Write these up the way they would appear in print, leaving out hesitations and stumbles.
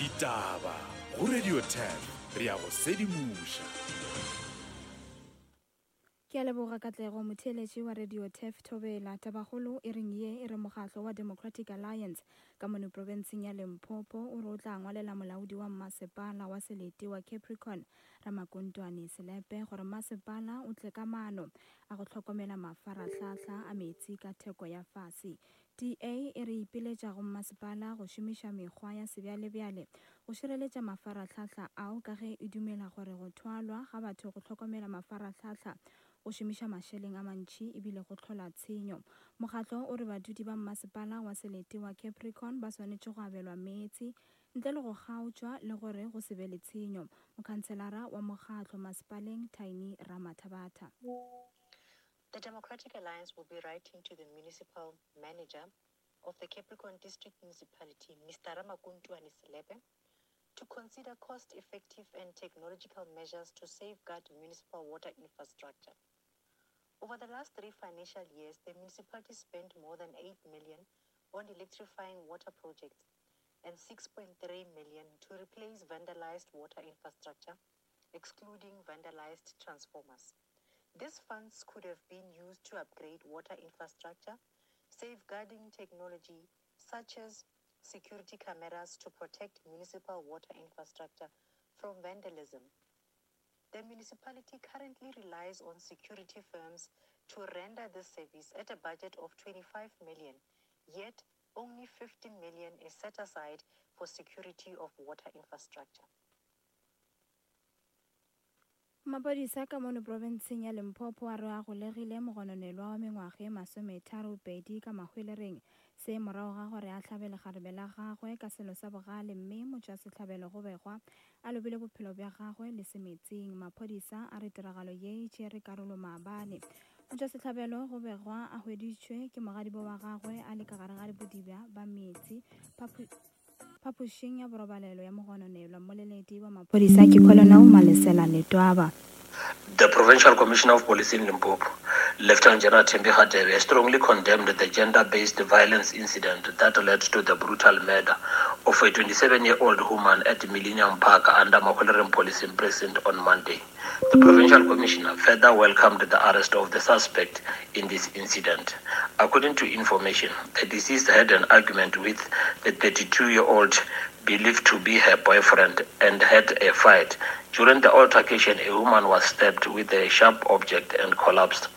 Ditaba go Radio 10 re a go sedimoša. Ke a leboga Katlego, motheeletši wa Radio Turf Thobela. Tabakgolo e reng ye e re mokgatlo wa Democratic Alliance ka mono profenseng ya Limpopo o re o tla ngwalela molaodi wa mmasepala wa selete wa Capricorn Ramakontwane Selepe gore mmasepala o tle ka maano a go hlokomela mafarahlahla a meetse ka theko ya fase. DA e re ipiletša go mmasepala go šomiša mekgwa ya sebjalebjale go šireletša mafarahlahla ao ka ge e dumela gore go thwalwa ga batho go hlokomela mafarahlahla go šomiša mašeleng a mantši ebile go hlola tshenyo. Mokgatlo o re badudi ba mmasepala wa selete wa Capricorn ba swanetše go abelwa meetse ntle le go kgaotšwa le gore go se be le tshenyo. Mokhanselara wa mokgatlo masepaleng Tiny Ramathabatha. The Democratic Alliance will be writing to the municipal manager of the Capricorn District Municipality, Mr. Ramakuntuane Selepe, to consider cost-effective and technological measures to safeguard municipal water infrastructure. Over the last three financial years, the municipality spent more than 8 million on electrifying water projects and 6.3 million to replace vandalized water infrastructure, excluding vandalized transformers. These funds could have been used to upgrade water infrastructure, safeguarding technology such as security cameras to protect municipal water infrastructure from vandalism. The municipality currently relies on security firms to render this service at a budget of 25 million, yet only 15 million is set aside for security of water infrastructure. Maphodisa ka mono profenseng ya Limpopo a re a golegile mogononelwa wa mengwaga e masometharopedi ka Mahwelereng. Se morago ga gore a hlabe lekgarebe la gagwe ka selo sa bogale mme motšwasehlabelo go begwa a lobile bophelo bja gagwe le semetsing. Maphodisa a re tiragalo ye e tšere karolo maabane. Motšwasehlabelo go begwa a hweditšwe ke mogadibo wa gagwe a le ka gare ga bodibja ba meetse. Phapošing ya borobalelo ya mogononelwa, mmoleledi wa maphodisa ke Colonel Malesela Letwaba. The Provincial Commissioner of Police in Limpopo, Lieutenant General Thembi Hadebe, strongly condemned the gender-based violence incident that led to the brutal murder of a 27-year-old woman at Millennium Park under Mahwelereng Policing Precinct on Monday. The provincial commissioner further welcomed the arrest of the suspect in this incident. According to information, the deceased had an argument with the 32-year-old believed to be her boyfriend and had a fight. During the altercation, a woman was stabbed with a sharp object and collapsed.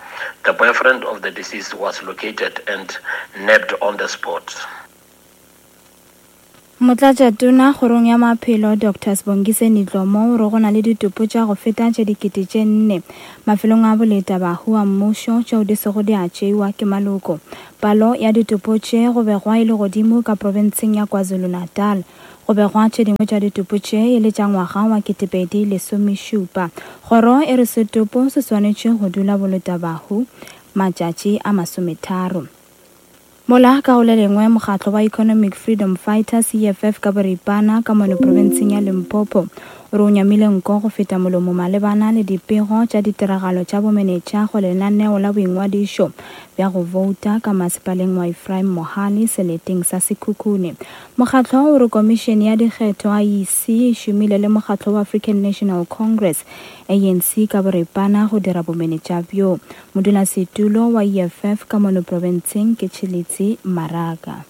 The boyfriend of the deceased was located and nabbed on the spot. Motlatšatona kgorong ya maphelo Doctor Sibongiseni Dhlomo o re go na le ditopo tša go feta tše 4000 mafelong a boleta bahu a mmušo tšeo di sego di a tšeiwa ke maloko. Palo ya ditopo tše go begwa e le godimo ka profenseng ya KwaZulu-Natal. Go begwa tše dingwe tša ditopo tše e le tša ngwaga wa 2017. Kgoro e re setopo se swanetše go dula boleta bahu matšatši a masometharo. Mola ka go le lengwe mokgatlo wa Economic Freedom Fighters, EFF, ka boripana ka mono profenseng ya Limpopo o re o nyamile nko go feta molomo malebana le dipego tša ditiragalo tša bomenetša go lenaneo la boingwadišo bja go bouta ka masepaleng wa Ephraim Mohale seleteng sa Sekhukhune. Mokgatlo o re komišene ya dikgetho, IEC, e šomile le mokgatlo wa African National Congress, ANC, ka boripana go dira bomenetša bjo. Modulasetulo wa EFF ka mono profenseng ke Tshilidzi Maraga.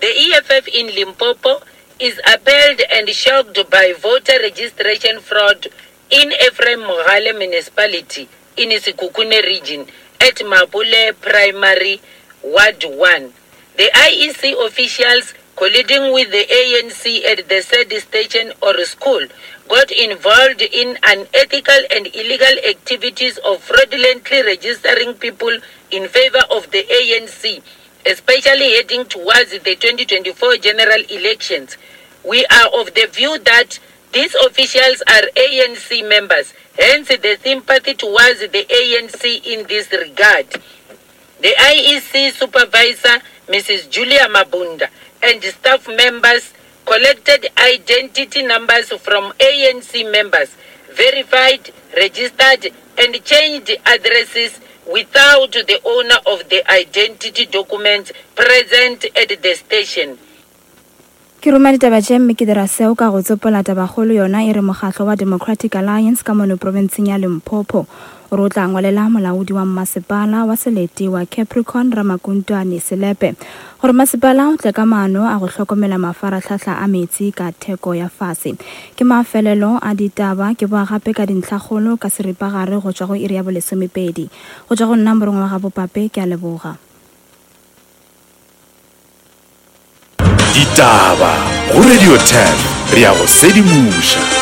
The EFF in Limpopo is appalled and shocked by voter registration fraud in Ephraim Mogale Municipality in Sekhukhune Region at Mapule Primary Ward 1. The IEC officials colluding with the ANC at the said station or school got involved in unethical and illegal activities of fraudulently registering people in favor of the ANC, especially heading towards the 2024 general elections. We are of the view that these officials are ANC members, hence the sympathy towards the ANC in this regard. The IEC supervisor, Mrs. Julia Mabunda, and staff members collected identity numbers from ANC members, verified, registered, and changed addresses without the owner of the identity documents present at the station. Ke ruma ditaba tše mme ke dira seo ka go tsopola tabakgolo yona e re mokgatlo wa Democratic Alliance ka mono profenseng ya Limpopo o re o tla ngwalela molaodi wa mmasepala wa selete wa Capricorn Ramakuntwane Selepe gore masepala o tle ka maano a go hlokomela mafarahlahla a meetse ka theko ya fase. Ke mafelelo a ditaba ke boa gape ka dintlhakgolo ka seripagare go tšwa go iri ya bolesomepedi. Go tšwa go nna Morongwa wa Gabopape ke a leboga. Ditaba go Radio 10 re a go sedimoša.